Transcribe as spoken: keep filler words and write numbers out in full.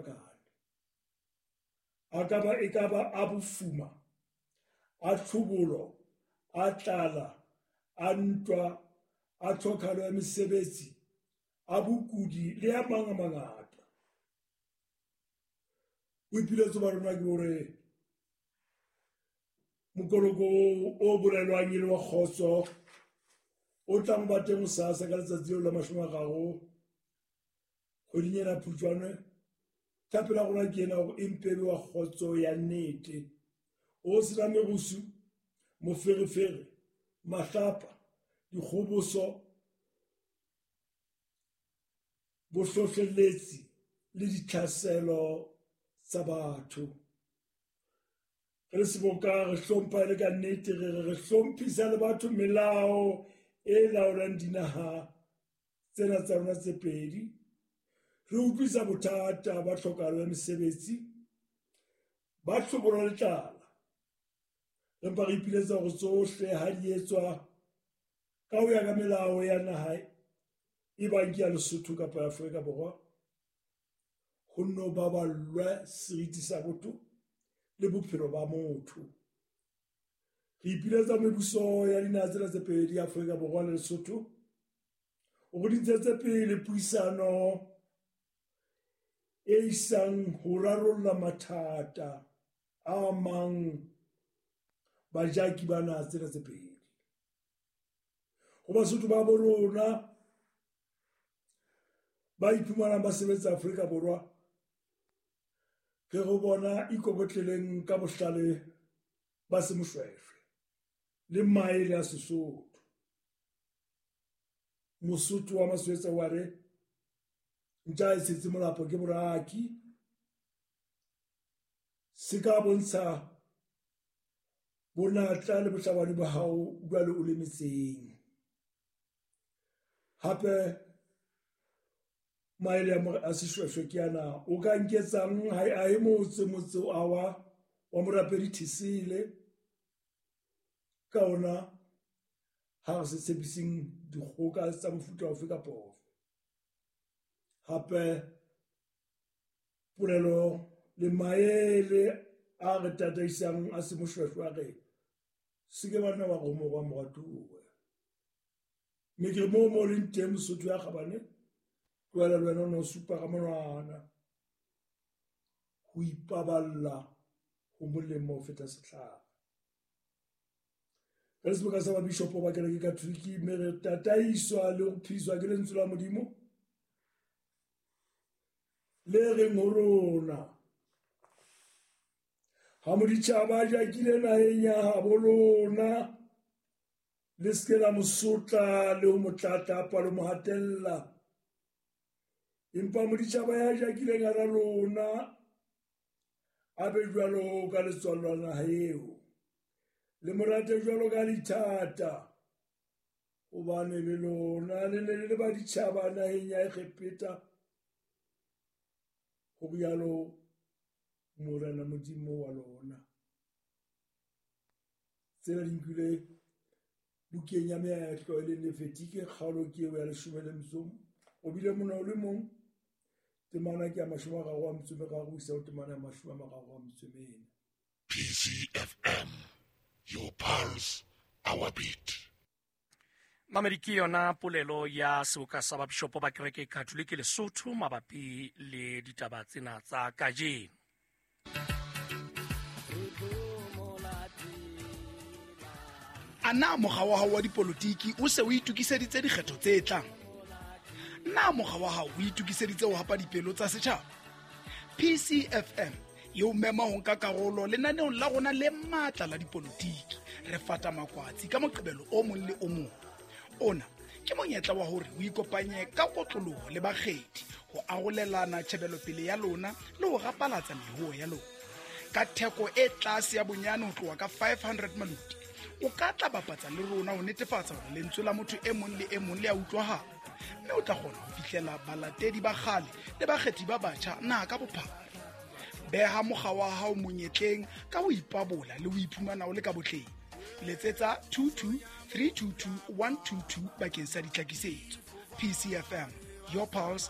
fapafapakane. A ka ba e ka ba a bofuma, a tlhobolo, a tlala, a ntwa, a tlhokahalo ya mesebetsi, a bokudi le a mang a mangata. Boipiletso ba rona ke hore mokoloko o bolelwang e le wa kgotso o tlang ba teng hosasa ka letsatsi leo la mashome a mararo kgweding ena ya Phupjane, thapelo ya rona ke ena hore e mpe e be wa kgotso ya nnete, o sena merusu, moferefere, mahlapa, dikgoboso, bohlohleletsi le ditlhaselo tsa batho. Re le seboka re hlompha e le ka nnete, re re re hlomphisa le batho melao e laolang dinaha tsena tsa rona tse pedi. Re utlwisa bothata ba tlhokahalo ya mesebetsi, ba tlhobolo le tlala. Re mpa re ipiletsa hore tsohle ha di etswa ka ho ya ka melao ya naha e bang ke ya Lesotho kapa ya Afrika Borwa, ho nno baballwe seriti sa botho le bophelo ba motho. Re ipiletsa mebuso ya dinaha tsena tse pedi, Afrika Borwa le Lesotho, hore di ntshetse pele puisano e isang ho rarolla mathata a amang bajaki ba naha tsena tse pedi. Ho Basotho ba bo rona ba iphumanang ba sebetsa Afrika Borwa, re re bona ikokotleleng ka bohlale ba semoshweshwe le maele a Sesotho. Mosotho wa Maswetsa wa re ntja e tshetse molapo ke boraki, se ka bontsha bonatla le bohlabani ba hao jwale o le metseng. Hape maele a seshweshwe ke ana, o ka nketsang ha a e motse motse a wa wa morapedi Thesele, ka ona ha re se tshepiseng dikgoka tsa mofuta ofe kapa ofe. Hape polelo le maele a re tataisang a semoshweshwe a re se ke banna ba romorwa moratuwe. Mme ke re moo mo leng teng Mosotho ya kgabane, tlohela le wena o no supa ka monwana. Ho ipaballa ho molemo ho feta setlhare. Re le seboka sa babishopo ba kereke Katholike, mme re tataiswa le ho phiswa ke lentswe la Modimo le reng ho rona, ha moditjhaba a jakile naheng ya habo lona, le se ke la mo sotla le ho mo tlatlapa le mo hatella. Empa moditjhaba ya jakileng hara lona a be jwalo ka letswalo la naha eo, le mo rate jwalo ka lithata, hobane le lona le ne le le baditjhaba naheng ya Egepeta, ho rialo Morena Modimo wa lona. Tsena di nkilwe bukeng ya meetlo e leng Lefetike, kgaolo ke eo ya leshome le metso o bile mona o le mong, temana ke ya mashome a mararo a metso e meraro ho isa ho temana ya mashome a mararo a metso e mene. P C F M, your pulse, our beat. Mamedi, ke yona polelo ya seboka sa babishopo ba kereke Katholike Lesotho mabapi le ditaba tsena tsa kajeno. A na mokga wa hao wa dipolotiki o se o itokiseditse dikgetho tse tlang? Na mokga wa hao o itokiseditse ho hapa dipelo tsa setjhaba? P C F M e o mema ho nka karolo lenaneong la rona le matla la dipolotiki. Re fata makwatsi ka Moqebelo o mong le o mong. Ona ke monyetla wa hore o ikopanye ka kotloloho le bakgethi ho arolelana tjhebelopele ya lona le ho rapalatsa mehoo ya lona. Ka theko e tlase ya bonyane ho tloha ka five hundred maluti, o ka tla bapatsa le rona ho netefatsa hore lentswe la motho e mong le e mong le a utlwahala, mme o tla kgona ho fihlela balatedi ba kgale le bakgethi ba batjha naha ka bophara. Beha mokga wa hao monyetleng ka ho ipabola le ho iphumana o le ka botleng. Letsetsa two two three two two one two two bakeng sa ditlhakisetso. P C F M, your pulse,